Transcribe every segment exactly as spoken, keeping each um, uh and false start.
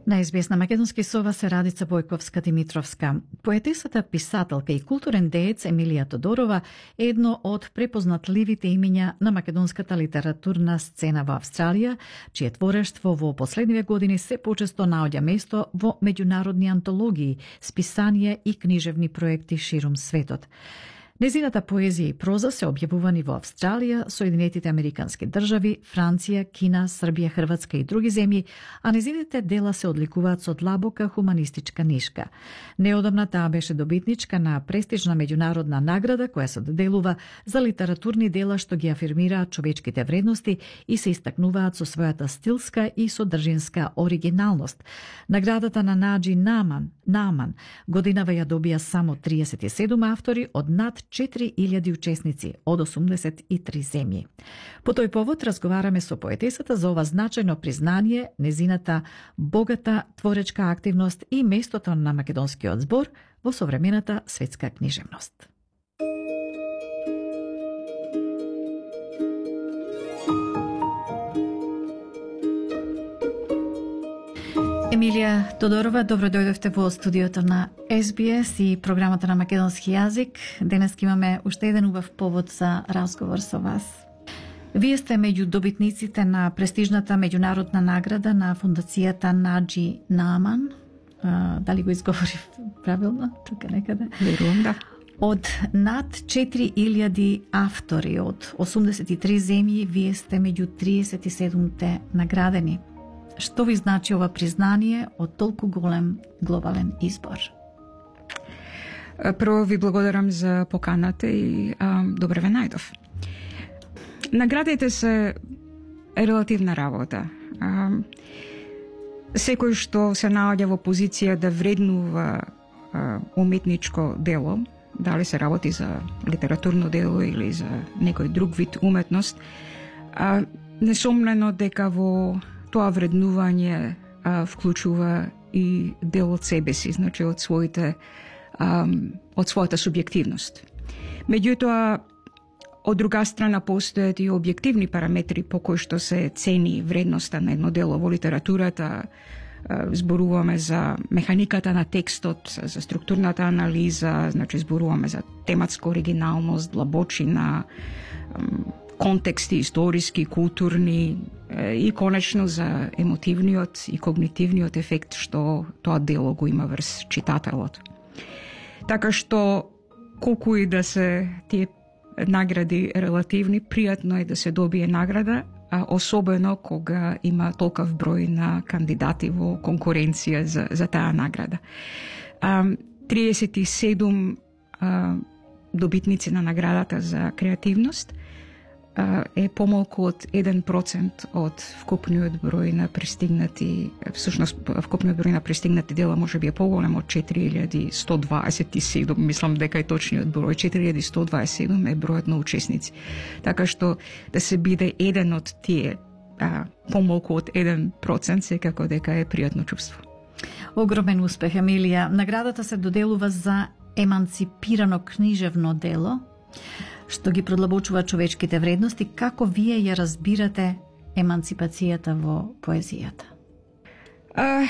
На ес би ес на македонски со вас е Радица Бојковска-Димитровска. Поетесата, писателка и културен деец Емилија Тодорова е едно од препознатливите имиња на македонската литературна сцена во Австралија, чие творештво во последниве години се почесто наоѓа место во меѓународни антологии, списанија и книжевни проекти ширум светот. Незината поезија и проза се објавувани во Австралија, Соединетите Американски држави, Франција, Кина, Србија, Хрватска и други земји, а незините дела се одликуваат со длабока хуманистичка нишка. Неодамна таа беше добитничка на престижна меѓународна награда која се доделува за литературни дела што ги афирмираат човечките вредности и се истакнуваат со својата стилска и содржинска оригиналност. Наградата на Наџи Нааман, Нааман годинава ја добија само триесет и седум автори од над четири илјади учесници од осумдесет и три земји. По тој повод разговараме со поетесата за ова значајно признание, незината богата творечка активност и местото на македонскиот збор во современата светска книжевност. Емилија Тодорова, добро дојдовте во студиото на ес би ес и програмата на македонски јазик. Денес имаме уште еден убав повод за разговор со вас. Вие сте меѓу добитниците на престижната меѓународна награда на фондацијата Наџи Нааман. А, дали го изговорив правилно? Тука некаде. Верувам, да. Од над четири илјади автори од осумдесет и три земји, вие сте меѓу триесет и седумте наградени. Што ви значи ова признание од толку голем глобален избор? Прво ви благодарам за поканата и а, добре ве најдов. Наградите се релативна работа. А, секој што се наоѓа во позиција да вреднува а, уметничко дело, дали се работи за литературно дело или за некој друг вид уметност, а, несомнено дека во тоа вреднување а, вклучува и дел од себе си, значи од своите а, од својата субјективност. Меѓутоа, од друга страна постојат и објективни параметри по кои што се цени вредноста на едно дело во литературата. А, зборуваме за механиката на текстот, за структурната анализа, значи зборуваме за тематска оригиналност, длабочина, контексти историски, културни и конечно за емотивниот и когнитивниот ефект што тоа дело го има врз читателот. Така што колку и да се тие награди релативни, пријатно е да се добие награда, а особено кога има толков број на кандидати во конкуренција за, за таа награда. А, триесет и седум а, добитници на наградата за креативност е помалку од еден процент од вкупниот број на пристигнати, всушност вкупниот број на пристигнати дела можеби е поголем од четири илјади сто дваесет и седум, мислам дека е точниот број, четири илјади сто дваесет и седум е бројот на учесници. Така што да се биде еден од тие, а, помалку од еден процент, секако дека е пријатно чувство. Огромен успех, Емилија. Наградата се доделува за еманципирано книжевно дело, што ги продлабочува човечките вредности. Како вие ја разбирате еманципацијата во поезијата? А,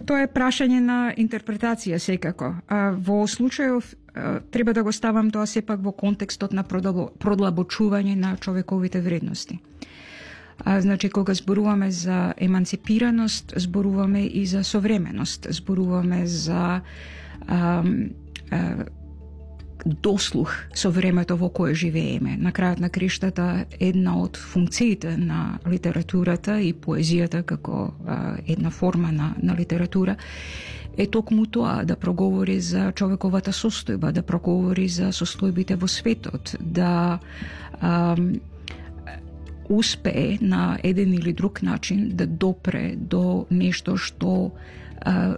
тоа е прашање на интерпретација секако. А, во случајов а, треба да го ставам тоа сепак во контекстот на продлабочување на човековите вредности. А, значи, кога зборуваме за еманципираност, зборуваме и за современост, зборуваме за а, а, дослух со времето во кое живееме. На крајот на криштата, една од функциите на литературата и поезијата како а, една форма на, на литература е токму тоа, да проговори за човековата состојба, да проговори за состојбите во светот, да а, успее на еден или друг начин да допре до нешто што а,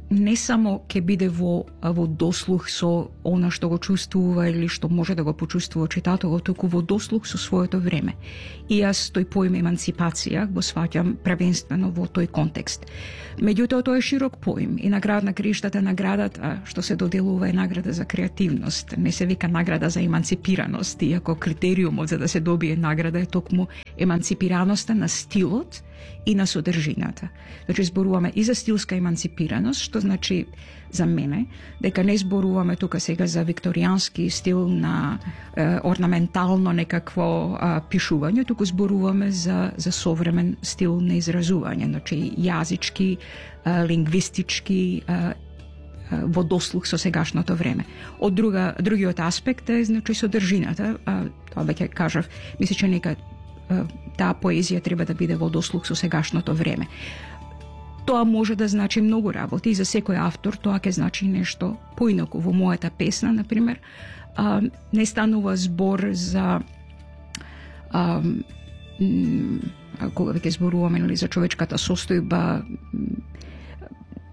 не само ќе биде во, во дослух со она што го чувствува или што може да го почувствува читателот, туку во дослух со своето време. И јас тој поим еманципација го сваќам првенствено во тој контекст. Меѓутоа, тоа е широк поим и на крајот на криштата наградата што се доделува е награда за креативност. Не се вика награда за еманципираност, иако критериумот за да се добие награда е токму еманципираноста на стилот и на содржината. Значи зборуваме и за стилска емансипираност, што значи за мене дека не зборуваме тука сега за викторијански стил на е, орнаментално некакво е, пишување, туку зборуваме за за современ стил на изразување, значи јазички, е, лингвистички, е, во дослух со сегашното време. Од друга, другиот аспект е, значи, содржината, а, тоа веќе кажав, мисля, че нека а, таа поезија треба да биде во дослух со сегашното време. Тоа може да значи многу работи и за секој автор тоа ќе значи нешто поинаку. Во мојата песна, например, а, не станува збор за а, м, кога веќе зборуваме нали, за човечката состојба,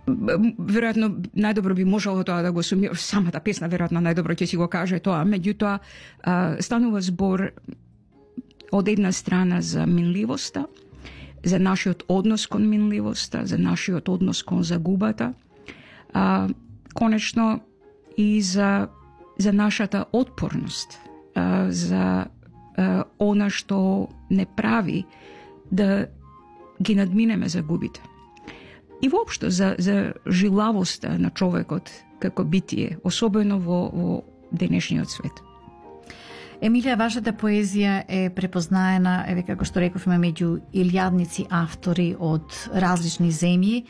веројатно најдобро би можело тоа да го сумира, самата песна веројатно најдобро ќе си го каже тоа, меѓутоа станува збор од една страна за минливоста, за нашиот однос кон минливоста, за нашиот однос кон загубата, а, конечно и за за нашата отпорност, а, за а, она што не прави да ги надминеме загубите. И воопшто за, за жилавоста на човекот како битие, особено во, во денешниот свет. Емилија, вашата поезија е препознаена, еве како што рековме, меѓу илјадници автори од различни земји.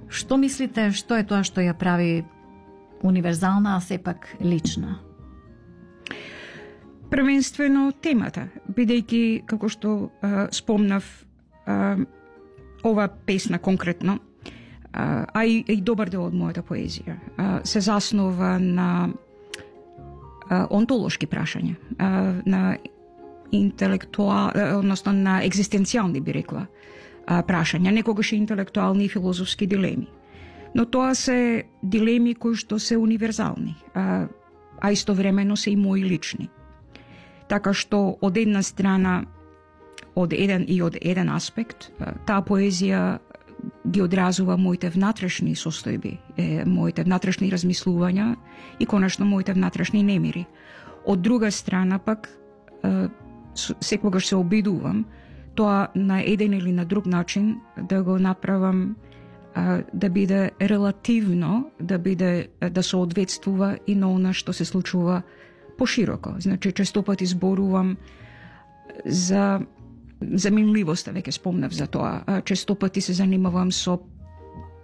Што мислите, што е тоа што ја прави универзална, а сепак лична? Првенствено темата, бидејќи, како што а, спомнав, а, ова песна конкретно, а и, и добар дел од мојата поезија се заснова на онтолошки прашања, на интелектуал, односно на екзистенцијални, би рекла, прашања, некогаш и интелектуални и филозофски дилеми. Но тоа се дилеми кои што се универзални, а, а истовремено се и мои лични. Така што од една страна, од еден и од еден аспект, таа поезија ги одразува моите внатрешни состојби, е, моите внатрешни размислувања и конечно моите внатрешни немири. Од друга страна пак, е, секогаш се обидувам тоа на еден или на друг начин да го направам е, да биде релативно, да биде да соодветствува и на она што се случува пошироко. Значи, често пати зборувам за за минливоста, веќе спомнав за тоа. Често пати се занимавам со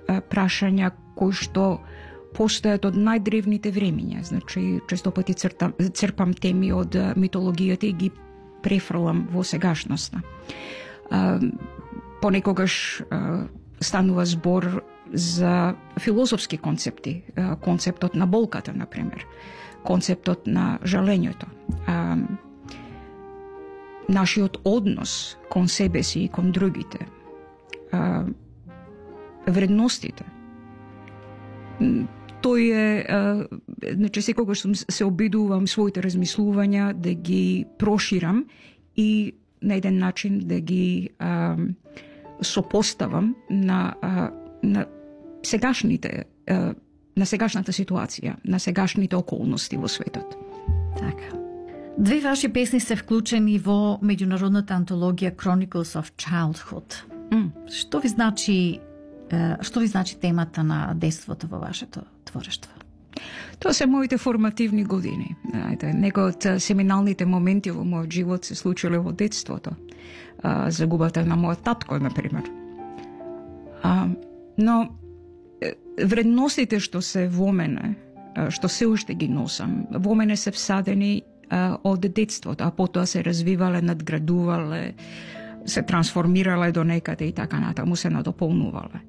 прашања кои што постојат од најдревните времиња. Значи, често пати цртам, црпам теми од митологијата и ги префрлам во сегашноста. Понекогаш станува збор за филозофски концепти, концептот на болката, например, концептот на жалењето, нашиот однос кон себе си и кон другите, а, вредностите. Тој е, а, значи секогаш сум се обидувам своите размислувања да ги проширам и на еден начин да ги а, сопоставам на, а, на сегашните, а, на сегашната ситуација, на сегашните околности во светот. Така. Две ваши песни се вклучени во меѓународната антологија Chronicles of Childhood. Mm. Што ви значи што ви значи темата на детството во вашето творештво? Тоа се моите формативни години. Некои од семиналните моменти во мојот живот се случиле во детството. Загубата на мојот татко, например. Но вредностите што се во мене, што се уште ги носам, во мене се всадени од детството, а потоа се развивале, надградувале, се трансформирале до некаде и така натаму се надополнувале.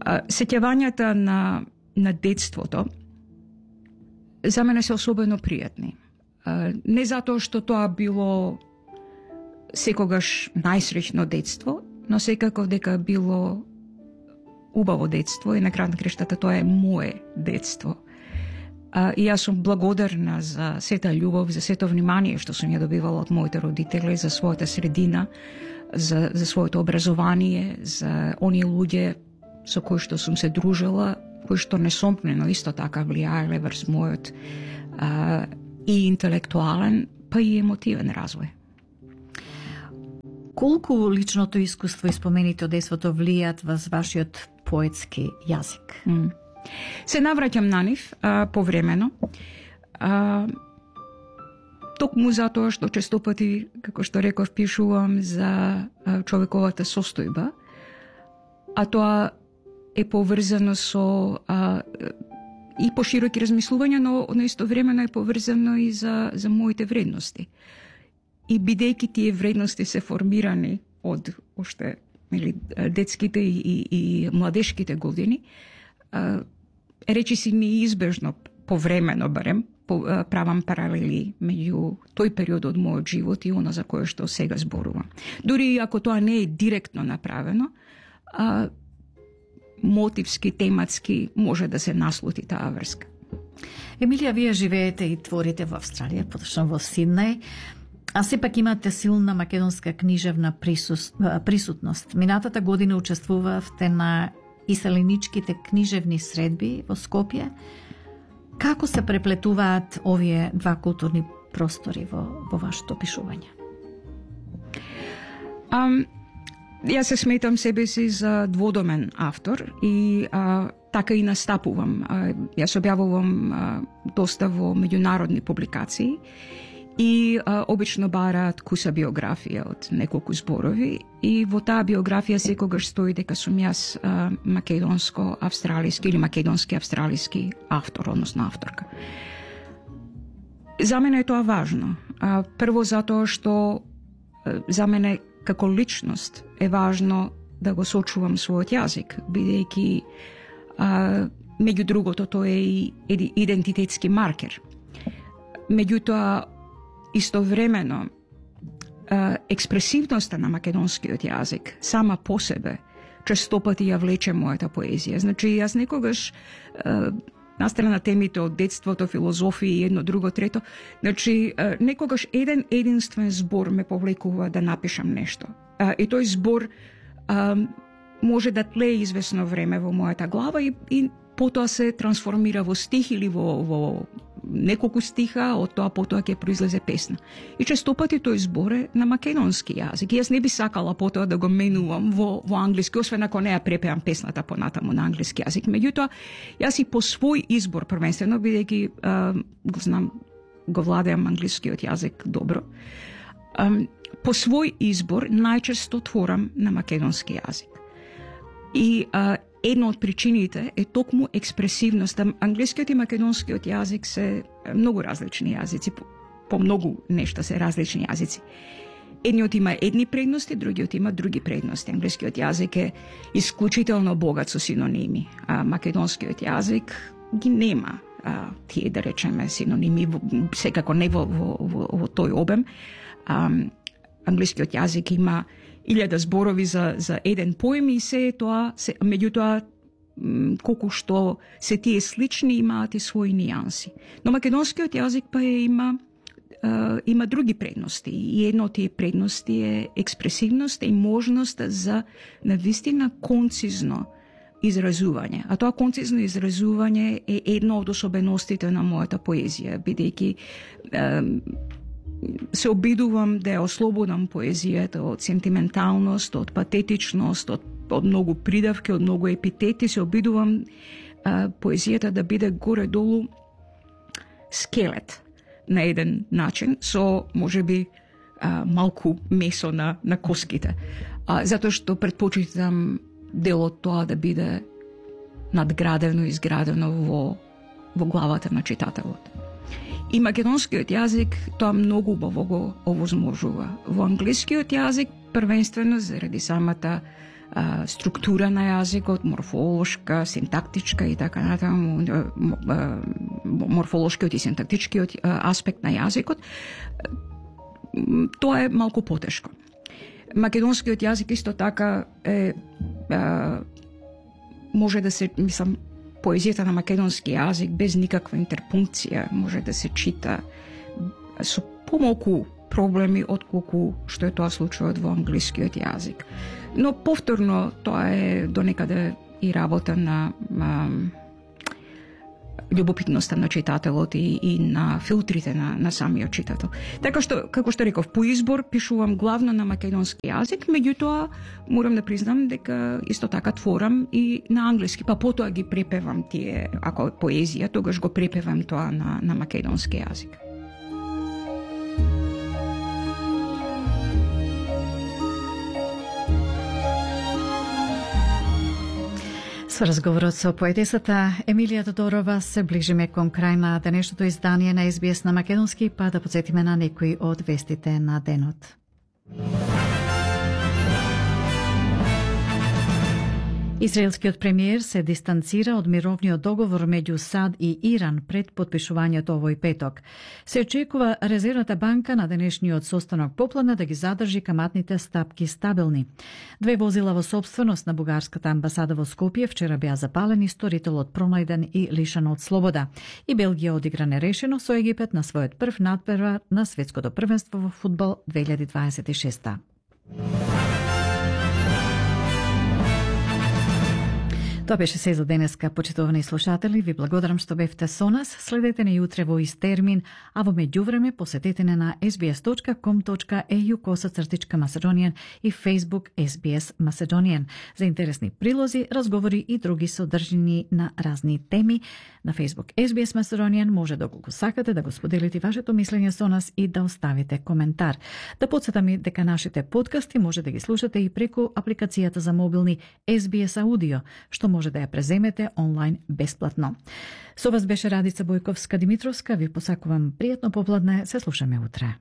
Сеќавањата на, на детството за мене се особено пријатни. Не затоа што тоа било секогаш најсреќно детство, но секако дека било убаво детство и на крај на крештата тоа е мое детство. И јас сум благодарна за сета љубов, за сето внимание што сум ја добивала од моите родители, за својата средина, за, за своето образование, за оние луѓе со кои што сум се дружила, кои што несомнено исто така влијаеле врз мојот а, и интелектуален, па и емотивен развој. Колку личното искуство и спомените од детството влијат во вашиот поетски јазик? Mm. Се навраќам на нив а, повремено. А, токму затоа што често пати, како што реков, пишувам за а, човековата состојба, а тоа е поврзано со а, и пошироки размислувања, но на истовремено е поврзано и за, за моите вредности. И бидејќи тие вредности се формирани од уште или детските и, и, и младешките години, а, речи си неизбежно, повремено барем, по, а, правам паралели меѓу тој период од мојот живот и она за кое што сега зборувам. Дури ако тоа не е директно направено, а, мотивски, тематски може да се наслути таа врска. Емилија, вие живеете и творите во Австралија, поточно во Сиднеј, а сепак имате силна македонска книжевна присутност. Минатата година учествувавте на иселеничките книжевни средби во Скопје. Како се преплетуваат овие два културни простори во, во вашето пишување? Um, Јас се сметам себе си за дводомен автор и а, така и настапувам. А, јас објавувам а, доста во меѓународни публикации и а, обично бараат куса биографија од неколку зборови и во таа биографија секогаш стои дека сум јас а, македонско-австралиски или македонски-австралиски автор, односно авторка. За мене е тоа важно. А, прво затоа што а, за мене како личност е важно да го сочувам својот јазик, бидејќи а, меѓу другото тоа е и идентитетски маркер. Меѓутоа, истовремено, а, експресивноста на македонскиот јазик сама по себе често пати ја влече мојата поезија. Значи, јас некогаш а, настрана на темите од детството, филозофија и едно, друго, трето, значи, некогаш еден единствен збор ме повлекува да напишам нешто. И тој збор а, може да тлее известно време во мојата глава и, и потоа се трансформира во стих или во, во неколку стиха, од тоа потоа ќе произлезе песна. И често пати тој збор е на македонски јазик. И јас не би сакала потоа да го менувам во, во англиски, освен ако не ја препеам песната понатаму на англиски јазик. Меѓутоа, јас и по свој избор првенствено, бидејќи го знам, го владеам англискиот јазик добро, а, по свој избор најчесто творам на македонски јазик. И а, една од причините е токму експресивноста. Англискиот и македонскиот јазик се многу различни јазици, по, по многу нешта се различни јазици. Едниот има едни предности, другиот има други предности. Англискиот јазик е исклучително богат со синоними, а македонскиот јазик ги нема а, тие, да речеме, синоними, секако не во, во, во, во тој обем. А, англискиот јазик има илјада зборови за, за еден поем и се тоа, се, меѓутоа, колку што се тие слични, имаат и своји нијанси. Но македонскиот јазик па е, има, е, има други предности. И една од тие предности е експресивност и можност за навистина концизно изразување. А тоа концизно изразување е една од особеностите на мојата поезија, бидејќи се обидувам да ја ослободам поезијата од сентименталност, од патетичност, од, од многу придавки, од многу епитети. Се обидувам а, поезијата да биде горе-долу скелет на еден начин, со можеби а, малку месо на, на коските. А, затоа што предпочитам дел од тоа да биде надградено и изградено во, во главата на читателот. И македонскиот јазик тоа многу убаво го овозможува. Во англискиот јазик првенствено заради самата а, структура на јазикот, морфолошка, синтактичка и така натаму, морфолошкиот и синтактичкиот аспект на јазикот, тоа е малку потешко. Македонскиот јазик исто така е, а, може да се, мислам, поезијата на македонски јазик без никаква интерпункција може да се чита со помалку проблеми отколку што е тоа случајот во англискиот јазик. Но повторно тоа е донекаде и работа на а, љубопитноста на читателот и, и на филтрите на, на самиот читател. Така што, како што реков, по избор пишувам главно на македонски јазик, меѓутоа морам да признам дека исто така творам и на англиски, па потоа ги препевам тие, ако е поезија, тогаш го препевам тоа на, на македонски јазик. Со разговорот со поетесата Емилија Тодорова се ближиме кон крај на денешното издание на Ес Би Ес на македонски, па да подсетиме на некои од вестите на денот. Израелскиот премиер се дистанцира од мировниот договор меѓу САД и Иран пред потпишувањето овој петок. Се очекува Резервната банка на денешниот состанок попладне да ги задржи каматните стапки стабилни. Две возила во собственост на бугарската амбасада во Скопје вчера беа запалени, сторителот пронајден и лишен од слобода. И Белгија одигра нерешено со Египет на својот прв надпревар на светското првенство во фудбал две илјади дваесет и шеста. Тоа беше се за денеска, почитувани слушатели. Ви благодарам што бевте со нас. Следете не јутре во ист термин, а во меѓувреме посетете не на ес би ес точка ком точка е ю косацртичка Macedonian и Facebook Ес Би Ес Macedonian за интересни прилози, разговори и други содржини на разни теми. На Facebook Ес Би Ес Macedonian може доколку сакате да го споделите вашето мислење со нас и да оставите коментар. Да подсетам и дека нашите подкасти може да ги слушате и преку апликацијата за мобилни Ес Би Ес Аудио, што може да ја преземете онлайн бесплатно. Со вас беше Радица Бојковска Димитровска. Ви посакувам пријатно попладне. Се слушаме утре.